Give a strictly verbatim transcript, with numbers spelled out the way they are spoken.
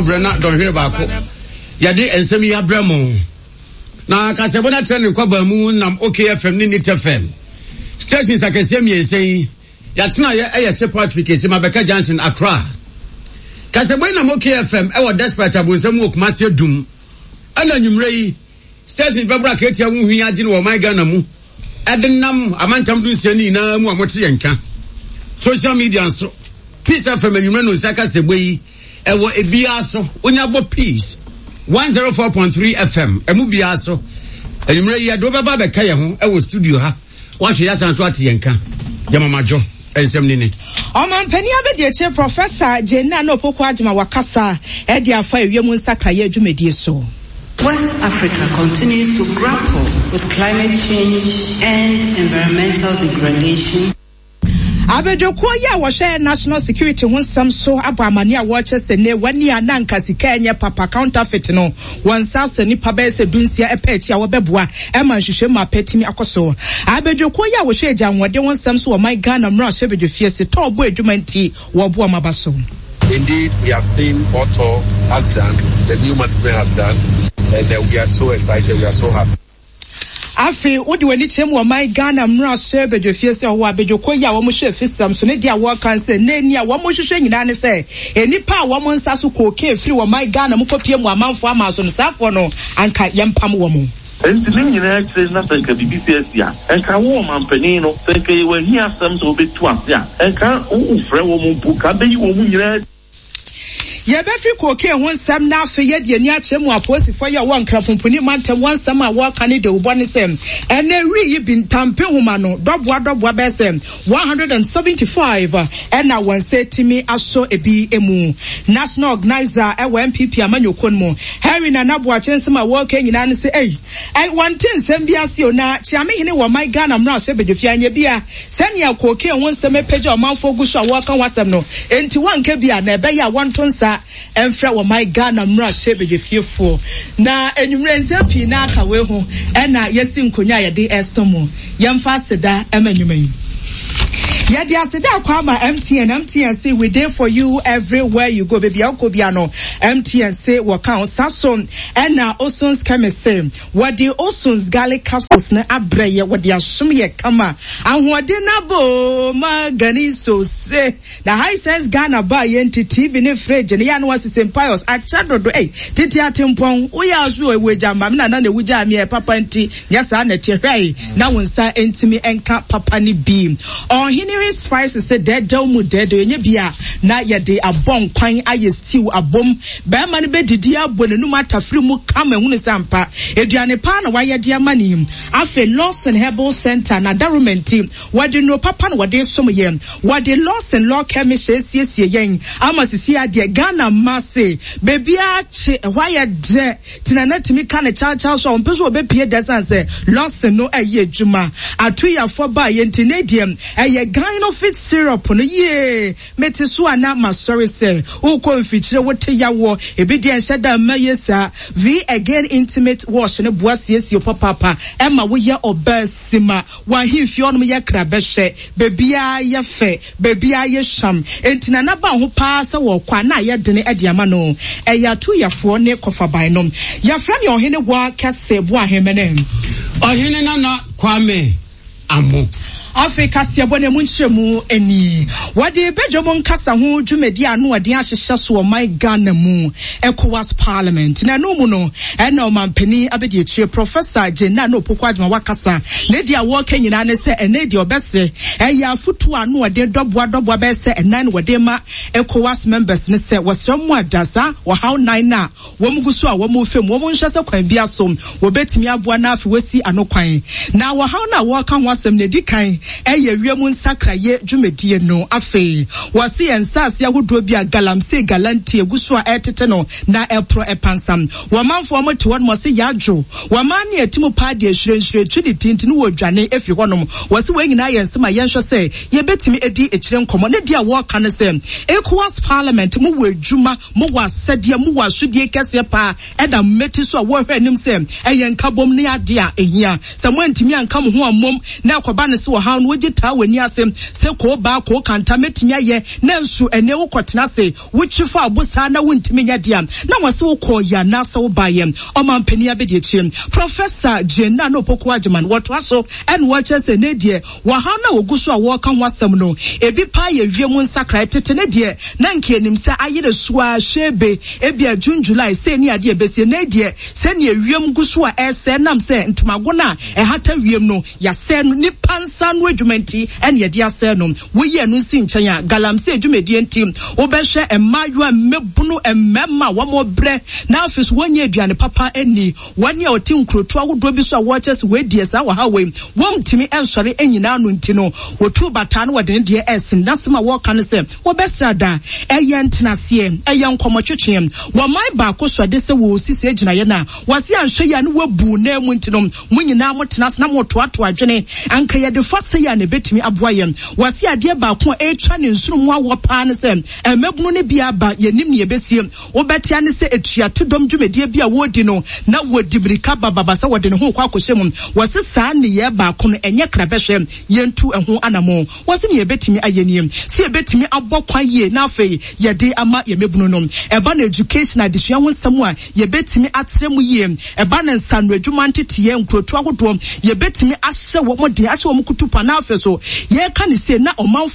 Brɛ na dɔnhwere baako yɛde nsɛm yi abrɛ mo na kasɛbɔ no atrɛ ne nkwabaa mu nam O K F M ne Neat F M stations akɛseɛ mmiɛnsa yi. Yɛatena yɛ ɛyɛ Sepat Fikesi Mabɛka Junction, Accra. Kasɛbɔ yi nam O K F M ɛwɔ Despite Abonsam wɔ Kumase Adum, ɛna anwummerɛ yi stations bɛboro akatua ho hwi agye no wɔ ɔman Ghana mu, ɛde nam amantam du nsia no nyinaa mu a mote yɛn ka. Social media nso, Peace F M anwummerɛ no nsa kasɛbɔ yi ɛwɔ ebiara so. Wonya bɔ Peace one zero four point three F M ɛmu biara so, anwummerɛ yi yɛde wobɛba bɛka yɛn ho ɛwɔ studio ha, woahwɛ yɛ asan so ate yɛn ka. Yɛmamadwo nsɛm ni ne Ɔmampanin abɛdi Professor Jane Naana Opoku Agyemang wakasa ɛde afa ewiem nsakraeɛ adwumadie so. West Africa continues to grapple with climate change and environmental degradation. Abadwakuo yi a wɔhwɛ national security ho nsɛm so abɔ amane a wɔrekyɛ sɛ ne wɔne a na nka sika ɛnyɛ papa, counterfeit no, wɔn nsa asɔ nipa bɛyɛ sɛ dunsia ɛpɛ akyi a wɔbɛboa ɛma nhwehwɛ mu apɛtumi akɔ so. Abadwakuo yi a wɔhwɛ agya ahoɔden ho nsɛm so wɔ ɔman Ghana mmarahyɛ badwafie se tɔɔ bɔ adwuma nti wɔboa ɔmo aba so. Indeed, we have seen what T O R has done, the new management has done, and uh, we are so excited, we are so happy. Afei wode w'ani kyerɛ mu, ɔman Ghana mmarahyɛ badwafie sɛ ɔwɔ abadwakɔ yi a wɔn hyɛ fisam so ne deɛ a wɔka sɛ n'ani a wɔn hwehwɛ nyinaa ne sɛ nnipa a wɔn nsa so kookee firi ɔman Ghana mu kɔpie mu amanfoɔ ama so no, saafoɔ no anka yɛmpam wɔn. Nti ne nyinaa akyire na sɛ nka biribi si asi a, nka wo ɔmampanin no, sɛ nka yɛwɔ ahi asɛm sɛ wobɛtu ase a, nka wofrɛ wɔ mu mpo ka bɛyi wɔ mu nyinaa. Yɛbɛfiri kookee ho nsɛm na afei yɛde ani akyerɛ mu apolisifoɔ yi a wɔwɔ Nkrapomponi mantam wɔn nsɛm a wɔreka ne dewubɔ ne sɛ ɛnɛ wi yi bi ntampe homa no dɔboa dɔboa bɛyɛ sɛ one hundred and seventy-five ɛna wɔn nsa tumi asɔ ebi mu. National organizer ɛwɔ N P P amanyɔkuo no mu, Henry Nana Boakye, nsɛm a wɔreka nyinaa ne sɛ ɛyi ɛ wɔnte nsɛm bi ase o, na Kyeamehene wɔ ɔman Ghana mmarahyɛ badwafie anyɛ bi a sɛnea kookee ho nsɛm apagya ɔmanfoɔ gu so a wɔreka ho asɛm no, enti wɔnka bi a na ɛbɛyɛ a wɔnto nsa ɛmfrɛ wɔ man Ghana mmarahyɛ badwafiefoɔ. Na enwummerɛ nsɛm pii na aka wei ho, ɛna yɛsi nkonnwa a yɛde ɛso mu. Yɛmfa aseda ɛma nnwuma yi. Yɛde aseda akɔ ama M T N. M T N se we dey for you everywhere you go. Baabi a wokɔ bia no, M T N se wɔka ho sa so. Ɛna Osons Chemist se wɔde Osons garlic capsules no abrɛ yɛ, wɔde asom yɛ kama. Ahoɔden nabo ma gani so se na Hisense Ghana ba yɛ nti T V ne fridge ne yɛ ano asese piles akyɛ dodo. Ei, tete atempɔn woyɛ aso ewu agya ma me nana na ewu gya mi ɛ papa nti nyɛ saa na ɛteɛ. Hwɛ na wo nsa ntumi nka papa ne bi. Ɔhene Spices sɛ dɛɛdɛw mu dɛɛdɛw enye bi a na yɛde abɔ nkwan ayɛ stew abom, bɛrima no bɛdidi abɔ n'anum atafiri mu kama ehunu sɛ ampa aduane paa na wayɛ de ama ne. Afei Lawson Herbal Center na daroma nti wɔde nnuro papa na wɔde som yɛn. Wɔde Lawson Law Chemist esiesie yɛn ama sisi adeɛ Ghana mma se beebi akye ɛhɔ ayɛ dɛ tena na tumi ka ne kyawkyaw so a wɔn pɛ so wɔbɛpie dɛ san sɛ Lawson no ɛyɛ adwuma atoyafoɔ baa yɛn ti ne deɛ ɛyɛ Gynofit syrup no yie. Mete so a na masɔre sɛ wokɔ mfikyire wote yawoɔ ebi deɛ nhyɛ da mma yie saa. V Again Intimate Wash ne boa siesie papaapa ɛma woyɛ ɔbaa sima wahemfie ɔnom yɛ kra bɛhyɛ beebiara yɛ fɛ, beebiara yɛ hyam. Enti na naba ho paa sɛ wɔkɔ a na ayɛ dene ɛde ama no. Ɛyɛ atoyafoɔ ne kɔfaban no. Yɛfrɛ me Ɔhene Wa Kɛse Boahemene. Ɔhene Nana Kwame Amo. Afei kaseɛbɔ no mu nkyerɛmu ani, wɔde badwam nkasa ho dwumadi a ano ɔden ahyehyɛ so ɔman Ghana mu, ECOWAS Parliament, na ɛno mu no ɛna ɔmampanin abɛdi akyire Professor Jane Naana Opoku Agyemang wakasa. Ne deɛ a wɔreka nyinaa ne sɛ ɛnɛ deɛ ɔbɛsrɛ ɛyɛ afotuo a ano ɔden dɔboa dɔboa bɛyɛ sɛ ɛnan na wɔde ma ECOWAS members ne sɛ wɔsrɛ mu ada saa ɔhaw nan no a wɔn gu so a wɔn fam, wɔn nhwɛ sɛ kwan bi aso wɔbɛtumi aboa na afei wɔsi ano kwan. Na wɔhaw no a wɔreka ho asɛm no, edi kan ɛyɛ wiem nsakraeɛ dwumadie no. Afei wɔsi yɛn nsaase ahodoɔ bi a galamsey galanti egu so a ɛretete no na ɛporɔ ɛpansam. Wɔn manfoɔ wɔn te hɔ nom, wɔsi yadwo wɔn man ne ɛti mu paa deɛ nhwirenhwiren tu ne tintin wɔ dwane efiri hɔnom. Wɔsi wɔn nyinaa yɛ nsɛm a yɛnhwɛ sɛ yɛbɛtumi edi akyire nkɔmɔ. Ne deɛ a wɔreka no sɛ ECOWAS Parliament mo wɔ adwuma, mo wɔ asɛdeɛ, mo wɔ asodie kɛseɛ paa ɛda mmeti so a wɔrehwɛ anim sɛ ɛyɛ nkabom ne adeɛ a ehia sɛ mo antumi anka mo ho ammom na ɛkɔba ne sɛ ɔhaw Ɔhaw no wogye taa w'ani ase sɛ koo baa koo kanta mɛtumi ayɛ, nanso ɛnɛ wokɔtena ase wotwi fa abo saa na wontumi nyɛ deɛ na wɔse wokɔɔ yɛ anaasɛ wobaeɛ. Ɔmampanin abɛdi akyire, Professor Jane Naana Opoku Agyemang, wɔtoa so ɛna wɔkyerɛ sɛ ne deɛ wɔhaw no a wɔgu so a wɔreka ho asɛm no, ebi paa yɛ wiem nsakrae. Tete ne deɛ na nka anim sɛ ayere so a hwebe ebia June, July sɛ ni adeɛ bɛsie. Ne deɛ sɛnea wiem gu so a ɛsɛ nam sɛ ntomago no a ɛhata wiem no yɛasɛ no, nipa nsa no adwuma nti ɛne yɛde asɛ no. Woyi ɛno nsi nkyɛn a, galamsey dwumadie nti wobɛhwɛ mmaayewa, mmabunu, mmarima a wɔn brɛ na afei so wɔnyɛ aduane papa ani, wɔne a wɔte nkurotoɔ ahodoɔ bi so a wɔrekyɛ sɛ wɔadi saa wɔ ha wei wɔntumi nsɔre nyinaa no nti no, wɔtu bataa no wɔde ne deɛ ɛsen. N'asɛm a wɔreka no sɛ wɔbɛsra da ɛyɛ ntenaseɛ, ɛyɛ nkɔmmɔtwetwe. Wɔman baako so de sɛ wɔsisi agyinaeɛ no a wɔse anhwɛ yi a ne wɔabu nan mu nti no, mo nyinaa motena ase na motoatoa adwene anka yɛde fa sɛ yi a na ɛbɛtumi aboa yɛn. Wɔse adeɛ baako a ɛretwa ne nsono mu awɔ paa ne sɛ mmabunu no bi aba yɛnim ne yɛbɛsie. Wobɛtea ne sɛ etuato dɔm dwumadie bi a wɔredi no na wɔdi mirika bababa sɛ wɔde ne ho kɔ akɔhyɛ mu. Wɔse saa nneyɛɛ baako no ɛnyɛ krabɛhwɛ, yɛntu ɛho anammɔn. Wɔse ne yɛbɛtumi ayɛ nie sɛ yɛbɛtumi abɔ kwan yie na afei yɛde ama yɛn mmabunu no. Ɛba no education, adesua ho nsɛm a yɛbɛtumi atrɛ mu yie. Ɛba no nsano adwuma nteteyɛ nkurotoɔ ahodoɔ, yɛbɛtumi ahyɛ wɔn den, ahyɛ wɔn kutu pa, na afei so yɛreka ne se na ɔmanfo